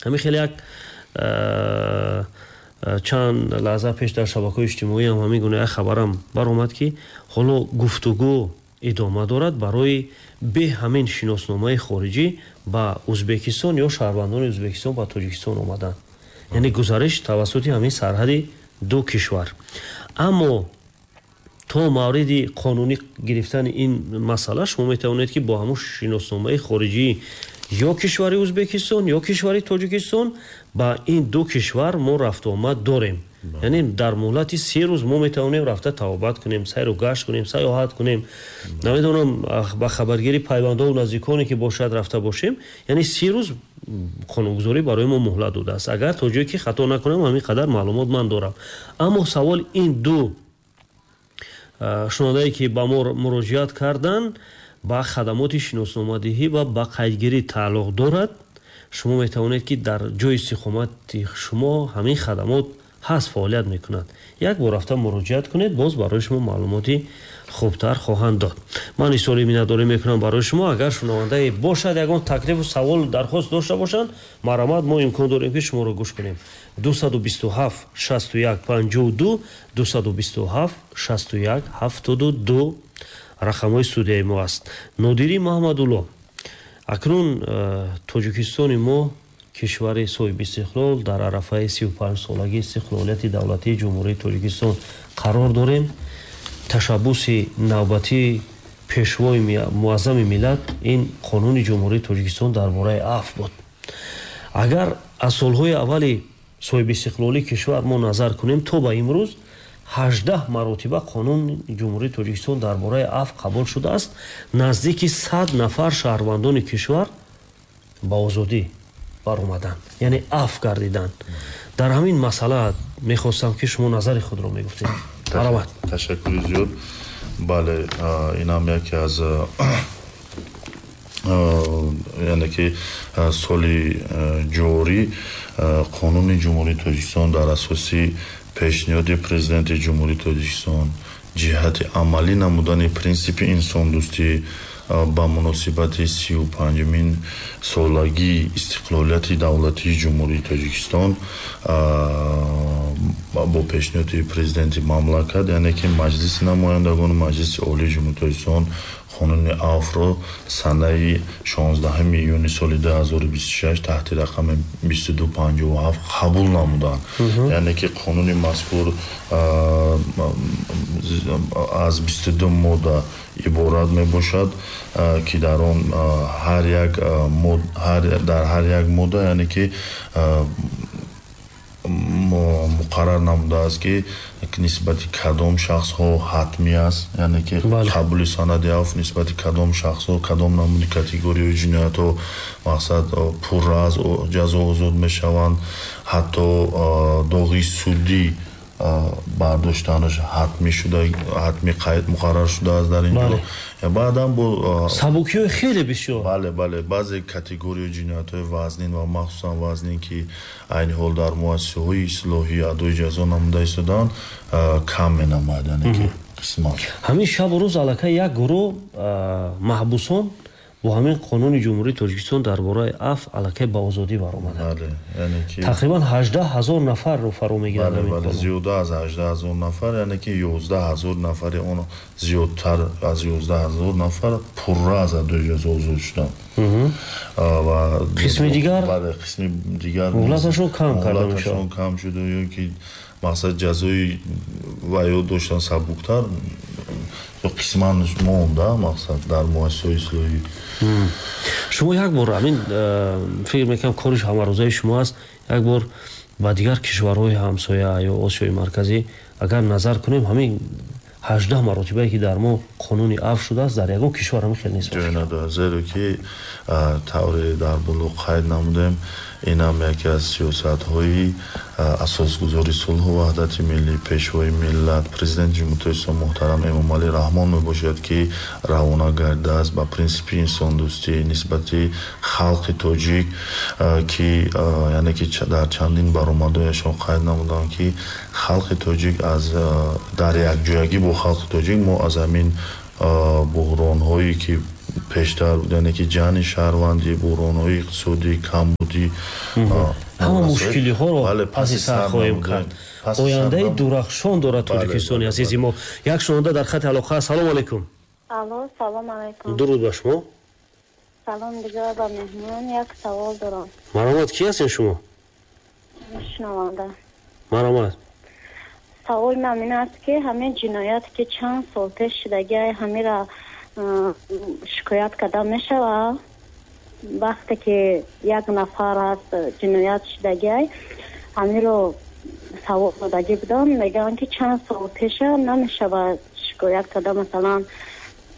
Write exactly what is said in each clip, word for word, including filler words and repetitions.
Ҳамин хеле як чанд лаҳза пеш дар шабакаҳои иҷтимоӣ ҳам ҳамин гуна як хабарам баромад, ки ҳоло гуфтугӯ идома дорад барои бе ҳамин шиносномаи хориҷӣ ба Ӯзбекистон ё шаҳрвандони Ӯзбекистон ба Тоҷикистон омадан, яъне гузариш тавассути ҳамин сарҳади ду кишвар. Аммо то мавриди қонунӣ гирифтани ин масъала шумо метавонед, ки бо ҳамун шиносномаи хориҷӣ ё кишвари Ӯзбекистон ё кишвари Тоҷикистон ба ин ду кишвар мо рафту омад дорем. Яъне дар муҳлати се рӯз мо метавонем рафта табобат кунем, сайру гашт кунем, сайёҳат кунем, намедонам, ба хабаргири пайвандову наздиконе ки бошад рафта бошем. Яъне се рӯз қонунгузорӣ барои мо муҳлат додааст. Агар то ҷое ки хато накунам, ҳамин қадар маълумот ман дорам. Аммо савол ин ду шунавандае ки ба мо муроҷиат карданд, ба хадамоти шиносномадиҳӣ ва ба қайдгирӣ тааллуқ дорад. Шумо метавонед, ки дар ҷои истиқомати шумо ҳамин хадамот ҳаст, фаъолият мекунад, як бор рафта муроҷиат кунед, боз барои шумо маълумоти хубтар хоҳанд дод. Ман изҳори миннатдорӣ мекунам барои шумо. Агар шунавандае бошад, ягон таклифу саволу дархост дошта бошанд, марҳамат, мо имкон дорем, ки шуморо гӯш кунем. Дусаду бисту ҳафт шасту як панҷоҳу ду, дусаду бисту ҳафт шасту як ҳафтоду ду рақамҳои студияи мо аст. Нодирӣ Маҳмадулло, акнун э, Тоҷикистони мо, кишвари соҳибистиқлол, дар арафаи сию панҷсолагии истиқлолияти давлатии Ҷумҳурии Тоҷикистон қарор дорем. Ташаббуси навбатии Пешвои муаззами миллат ин Қонуни Ҷумҳурии Тоҷикистон дар бораи афв буд. Агар аз солҳои аввали соҳибистиқлолии кишвар мо назар кунем, то ба имрӯз ҳаждаҳ маротиба Қонуни Ҷумҳурии Тоҷикистон дар бораи афв қабул шудааст. Наздики сад нафар шаҳрвандони кишвар ба озодӣ баромаданд, яъне афв гардиданд. Дар ҳамин масъала мехостам, ки шумо назари худро мегуфтед. Марҳамат. Ташаккури зиёд. Бале, инам яке аз, яъне ки соли ҷорӣ Қонуни Ҷумҳурии Тоҷикистон дар асоси пешниҳоди Президенти Ҷумҳурии Тоҷикистон ҷиҳати амалӣ намудани принсипи инсондӯстӣ ба муносибати сию панҷумин солагии истиқлолияти давлатии Ҷумҳурии Тоҷикистон, бо пешниҳоди Президенти мамлакат, яъне ки Маҷлиси намояндагону Маҷлиси Олии Ҷумҳурии Тоҷикистон Қонуни афвро санаи шонздаҳуми июни соли ду ҳазору бисту шаш таҳти рақами бисту ду панҷоҳу ҳафт қабул намуданд. Яъне ки қонуни мазкур аз бисту ду модда иборат мебошад, ки дар он ҳар як дар ҳар як модда, яъне ки муқаррар намудааст, ки нисбати кадом шахсҳо ҳатмӣ аст, яъне ки қабули санади афв нисбати кадом шахсҳо, кадом намуди категорияи ҷиноятҳо, мақсад, пурра аз ҷазо озод мешаванд, ҳатто доғи судӣ бардоштанаш ҳатмӣ шуда, ҳатмӣ қайд муқаррар шудааст дар ин ҷо. Баъдан бо Сабукиҳои хеле бисёр. Бале, бале, баъзе категорияи ҷиноятҳои вазнин ва махсусан вазнин, ки айни ҳол дар муассисаҳои ислоҳӣ адои ҷазо намуда истодаанд, кам менамояд, яъне ки қисмат. Ҳамин шабу рӯз аллакай як гурӯҳ маҳбусон бо ҳамин Қонуни Ҷумҳурии Тоҷикистон дар бораи афв аллакай ба озодӣ баромаданд. Тақрибан ҳаждаҳ ҳазор нафарро фаро мегирад. Зиёда аз ҳаждаҳ ҳазор нафар, яъне ки ёздаҳ ҳазор нафари он, зиёдтар аз ёздаҳ ҳазор нафар пурра аз адои ҷазо озод шуданд. Ва қисми дигар Бале, қисми дигар муҳлаташон кам карда муҳлаташон кам шуда ё ки, мақсад, ҷазои ваё доштан сабуктар, қисман монда, мақсад, дар муассисаҳои ислоҳӣ. Шумо як бор ҳамин, э, фикр мекунам, кори ҳамарӯзаи шумо аст, як бор ба дигар кишварҳои ҳамсоя ё Осиёи Марказӣ агар назар кунем, ҳамин ҳаждаҳ маротибае ки дар мо қонуни афв шудааст, дар ягон кишвар ҳамин хел нест. Ҷой надорад, зеро ки тавре дар боло қайд намудем, инам яке аз сиёсатҳои асосгузори сулҳу ваҳдати миллӣ, Пешвои миллат, Президенти Ҷумҳурии Тоҷикистон муҳтарам Эмомалӣ Раҳмон мебошад, ки равона гардидааст ба принсипи инсондӯстӣ нисбати халқи тоҷик, ки яъне ки дар чандин баромадҳояшон қайд намуданд, ки халқи тоҷик аз дар якҷоягӣ бо халқи тоҷик мо аз ҳамин буҳронҳое ки пештар, яъне ки ҷанги шаҳрвандӣ, буҳронҳои иқтисодӣ, камбудӣ, ҳама мушкилиҳоро паси сар хоҳем кард. Ояндаи дурахшон дорад Тоҷикистони азизи мо. Як шунаванда дар хати алоқа. Салому алайкум. Алло, салом алайкум. Дуруд ба шумо. Салом дигар ба меҳмон. Як савол дорам. Марҳамат, кӣ ҳастед шумо? Шунаванда. Марҳамат. Саволи ман ин аст, ки ҳамин ҷиноят, ки чанд сол пеш шудагиай, ҳамира шикоят карда мешавад? Вақте ки як нафар аст ҷиноят шудагиай, ҳамиро савол додагӣ будам, мегӯянд, ки чанд сол пеша намешавад шикоят карда. Масалан,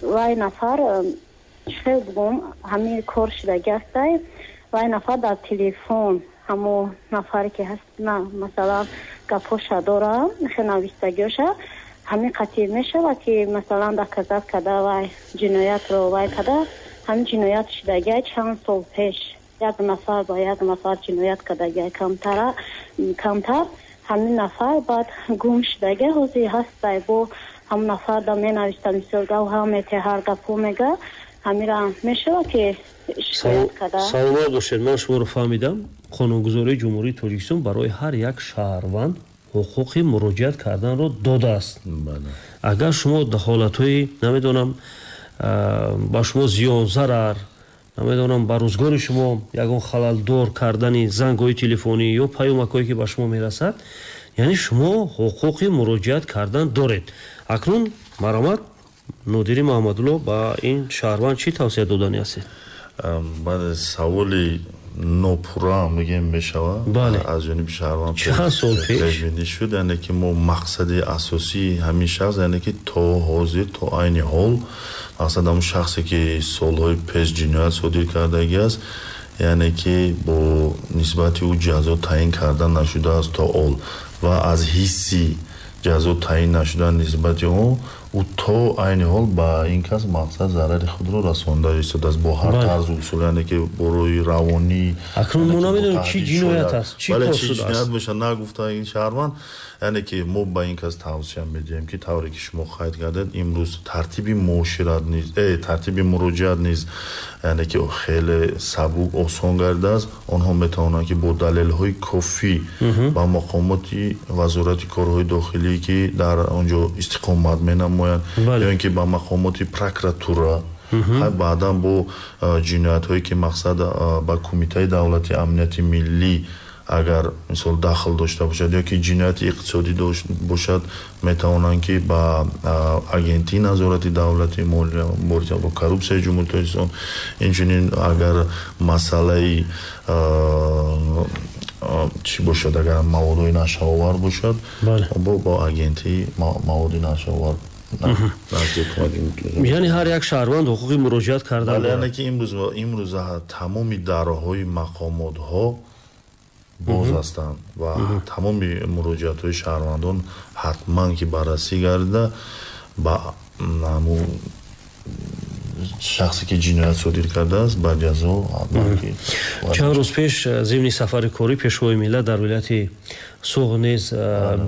вай нафар, хел бугум, ҳамин кор шудагӣ астай, вай нафар дар телефон ҳамо нафаре ки ҳаст, на, масалан, гапоша дора, хел навистагиоша, ҳамин қатъи мешавад, ки масалан доказат карда вай ҷиноятро вай карда, ҳамин ҷиноят шудагиай чанд сол пеш, як нафар ба як нафар ҷиноят кардагиай, камтара камтар ҳамин нафар баъд гум шудагиай, ҳозир ҳастай, бо ҳамон нафар да менависта, мисол гавҳа мете, ҳар гапҳо мега, ҳамира мешавад, ки шикоят карда? Саломат бошед, ман шуморо фаҳмидам. Қонунгузории Ҷумҳурии Тоҷикистон барои ҳар як шаҳрванд ҳуқуқи муроҷиат карданро додааст. Агар шумо дар ҳолатҳои, намедонам, ба шумо зиён, зарар, намедонам, ба рӯзгори шумо ягон халалдор кардани зангҳои телефонӣ ё паёмакҳое, ки ба шумо мерасад, яъне шумо ҳуқуқи муроҷиат кардан доред. Акнун марҳамат, Нодири Маҳмадулло, ба ин шаҳрванд чӣ тавсия додани ҳастед? Баъд саволи нопурра мегӯем мешавад аз ҷониби шаҳрванд чанд сол пеш пешбинӣ шуд, яъне ки мо мақсади асосии ҳамин шахс, яъне ки то ҳозир, то айни ҳол, мақсад ҳамон шахсе, ки солҳои пеш ҷиноят содир кардагӣ аст, яъне ки бо нисбати ӯ ҷазо таъин карда нашудааст то ҳол ва аз ҳисси ҷазо таъин нашудан нисбати ӯ, ӯ то айни ҳол ба ин кас мақсад зарари худро расонда истодааст бо ҳар тарзу усул, яъне ки бо роҳи равонӣ. Акнун мо намедонем, чӣ ҷиноят аст, чӣ бале, кор чӣ шудааст. Ҷиноят бошад, нагуфта ин шаҳрванд. Яъне ки мо ба ин кас тавсия медиҳем, ки тавре ки шумо қайд кардед, имрӯз тартиби муошират низ, э, тартиби муроҷиат низ, яъне ки хеле сабук, осон гардидааст. Онҳо метавонанд, ки бо далелҳои кофӣ ба мақомоти Вазорати корҳои дохилӣ, ки дар он ҷо истиқомат менамоянд, ё ин ки ба мақомоти прокуратура, баъдан бо ҷиноятҳое, ки мақсад ба Кумитаи давлати амнияти миллӣ агар мисол дахл дошта бошад ё ки ҷинояти иқтисодӣ бошад, метавонанд, ки ба Агентии назорати давлати мубориза бо коррупсияи Ҷумҳурии Тоҷикистон, инчунин агар масъалаи чӣ бошад, агар маводҳои нашъаовар бошад, бо бо Агентии маводи нашъаовар. Яъне ҳар як шаҳрванд ҳуқуқи муроҷиат кардан дорад. Яъне ки имрӯз имрӯза тамоми дарҳои мақомотҳо боз ҳастанд ва тамоми муроҷиатҳои шаҳрвандон ҳатман ки баррасӣ гардида, ба ҳамун шахсе, ки ҷиноят содир кардааст, ба ҷазо ҳатман ки. Чанд рӯз пеш зимни сафари корӣ Пешвои миллат дар вилояти Суғд низ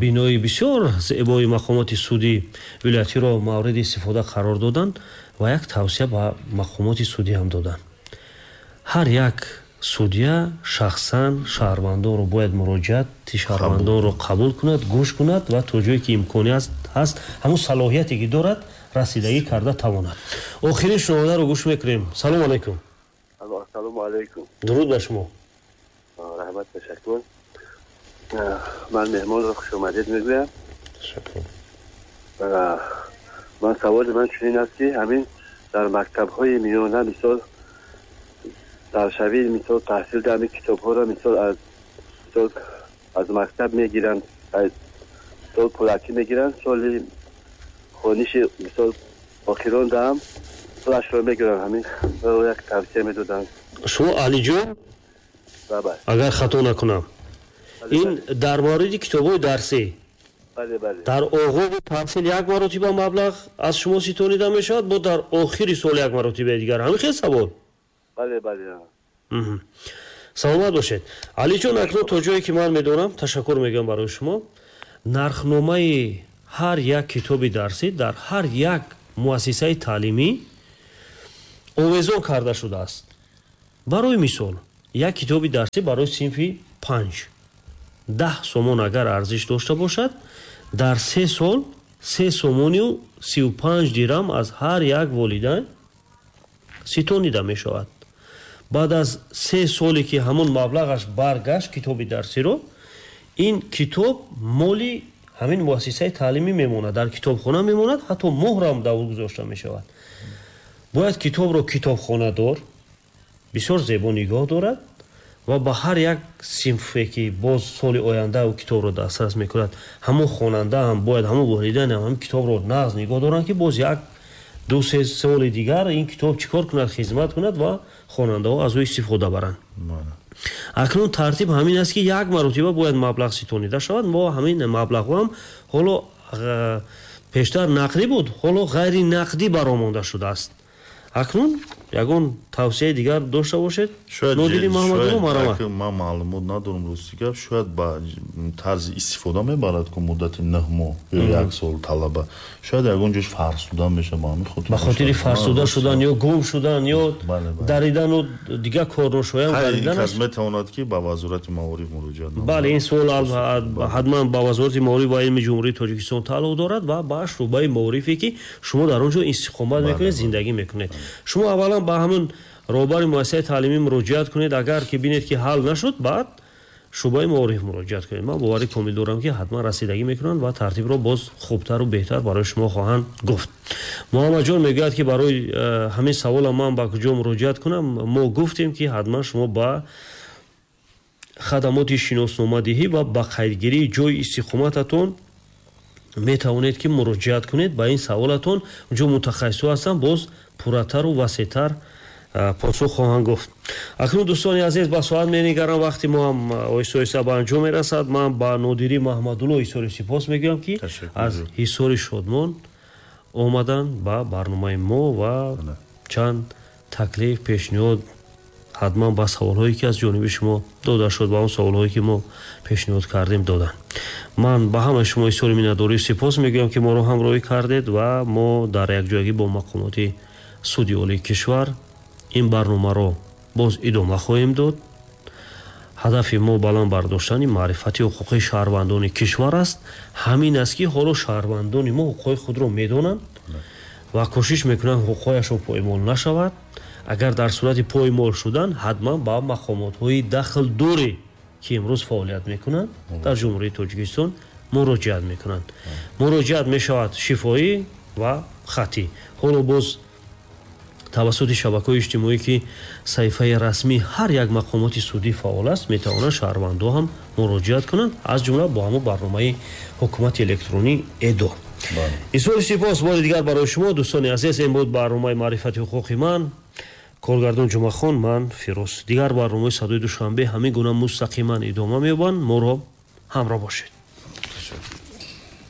бинои бисёр зебои мақомоти судӣ вилоятиро мавриди истифода қарор доданд ва як тавсия ба мақомоти судӣ ҳам доданд: ҳар як судья шахсан шаҳрвандонро бояд муроҷиати шаҳрвандонро қабул кунад, гӯш кунад ва то ҷое ки имконият ҳаст, ҳамун салоҳияте ки дорад, расидагӣ карда тавонад. Охирин шунавандаро гӯш мекунем. Салому алайкум. Ассалому алайкум. Дуруд ба шумо. Раҳмат, ташаккур. Ман меҳмонро хушомадед мегӯям. Ташаккур. Ман саволи ман чунин аст, ки ҳамин дар мактабҳои миёна, мисол, даршавии, мисол, таҳсил дар ҳамин китобҳоро, мисол, аз мисол аз мактаб мегиранд, мисол, пулакӣ мегиранд, соли хониши, мисол, охирон даам пулашро мегиранд. Ҳамин як тавсия медоданд. Шумо Алиҷон, агар хато накунам, ин дар мавриди китобҳои дарсӣ дар оғози таҳсил як маротиба маблағ аз шумо ситонида мешавад, бо дар охири сол як маротибаи дигар, ҳамин хел савол? Бале, бале. Саломат бошед, Алиҷон. Акнун то ҷое ки ман медонам, ташаккур мегӯям барои шумо, нархномаи ҳар як китоби дарсӣ дар ҳар як муассисаи таълимӣ Овезон карда шудааст. Барои мисол, як китоби дарсӣ барои синфи панҷ даҳ сомон агар арзиш дошта бошад, дар се сол се сомонию сию панҷ дирам аз ҳар як волидайн ситонида мешавад. Баъд аз се соле ки ҳамон маблағаш баргашт китоби дарсиро, ин китоб моли ҳамин муассисаи таълимӣ мемонад, дар китобхона мемонад, ҳатто муҳрам дар ӯ гузошта мешавад. Бояд китобро китобхонадор бисёр зебо нигоҳ дорад ва ба ҳар як синфе ки боз соли оянда ӯ китобро дастрас мекунад, ҳамон хонанда ҳам бояд, ҳамон волидайн ҳам ҳамин китобро нағз нигоҳ доранд, ки боз як ду се соли дигар ин китоб чӣ кор кунад, хизмат кунад ва хонандаҳо аз ӯ истифода баранд. Акнун тартиб ҳамин аст, ки як маротиба бояд маблағ ситонида шавад. Мо ҳамин маблағҳо ҳам ҳоло пештар нақдӣ буд, ҳоло ғайри нақдӣ баромонда шудааст. Акнун ягон тавсияи дигар дошта бошед? Нодири Маҳмадулло, марҳамат. Ман маълумот надорам, рости гап, шояд ба тарзи истифода мебарад, ку муддати нӯҳ моҳ ё як сол талаба, шояд ягон ҷош фарсуда мешавад, ба ҳамин хотир, ба хотири фарсуда шудан ё гум шудан ё даридану дигар корношоям гариданаш метавонад ки ба Вазорати маориф муроҷиат намояд. Бале, ин суол ҳатман ба Вазорати маориф ва илми Ҷумҳурии Тоҷикистон тааллуқ дорад ва ба шӯъбаи маорифе ки шумо дар он ҷо истиқомат мекунед, зиндагӣ мекунед. Шумо аввалан ба ҳамон роҳбари муассисаи таълимӣ муроҷиат кунед. Агар ки бинед ки ҳал нашуд, баъд шӯъбаи маориф муроҷиат кунед. Ман боварӣ комил дорам, ки ҳатман расидагӣ мекунанд ва тартибро боз хубтару беҳтар барои шумо хоҳанд гуфт. Муҳаммадҷон мегӯяд, ки барои ҳамин савола ман ба куҷо муроҷиат кунам? Мо гуфтем, ки ҳатман шумо ба хадамоти шиносномадиҳӣ ва ба қайдгирии ҷои истиқомататон метавонед ки муроҷиат кунед. Ба ин саволатон онҷо мутахассисҳо ҳастанд, боз пурратару васеътар посух хоҳанд гуфт. Акнун дӯстони азиз, ба соат менигарам, вақти мо ҳам оҳиста оҳиста ба анҷом мерасад. Ман ба Нодири Маҳмадулло ҳисори сипос мегӯям, ки аз ҳисори Шодмон омаданд ба барномаи мо ва чанд таклиф, пешниҳод ҳатман ба саволҳое ки аз ҷониби шумо дода шуд ва он саволҳое ки мо пешниҳод кардем доданд. Ман ба ҳамаи шумо изҳори миннатдорӣ сипос мегӯям, ки моро ҳамроҳӣ кардед ва мо дар якҷоягӣ бо мақомоти суди олии кишвар ин барномаро боз идома хоҳем дод. Ҳадафи мо баланд бардоштани маърифати ҳуқуқии шаҳрвандони кишвар аст. Ҳамин аст, ки ҳоло шаҳрвандони мо ҳуқуқҳои худро медонанд ва кӯшиш мекунанд ҳуқуқҳояшон поймол нашавад. Агар дар сурати поймол шудан, ҳатман ба мақомотҳои дахлдоре ки имрӯз фаъолият мекунанд дар Ҷумҳурии Тоҷикистон муроҷиат мекунанд. Муроҷиат мешавад шифоҳӣ ва хаттӣ. Ҳоло боз тавассути шабакаҳои иҷтимоӣ, ки саҳифаи расмии ҳар як мақомоти судӣ фаъол аст, метавонанд шаҳрвандо ҳам муроҷиат кунанд, аз ҷумла бо ҳамон барномаи ҳукумати электронӣ ЭДО. Изҳори сипос бори дигар барои шумо дӯстони азиз. Ин буд барномаи маърифати ҳуқуқи ман, коргардон Ҷумъахон, ман Фирӯз. Дигар барномаи Садои Душанбе ҳамин гуна мустақиман идома меёбанд. Моро ҳамроҳ бошед.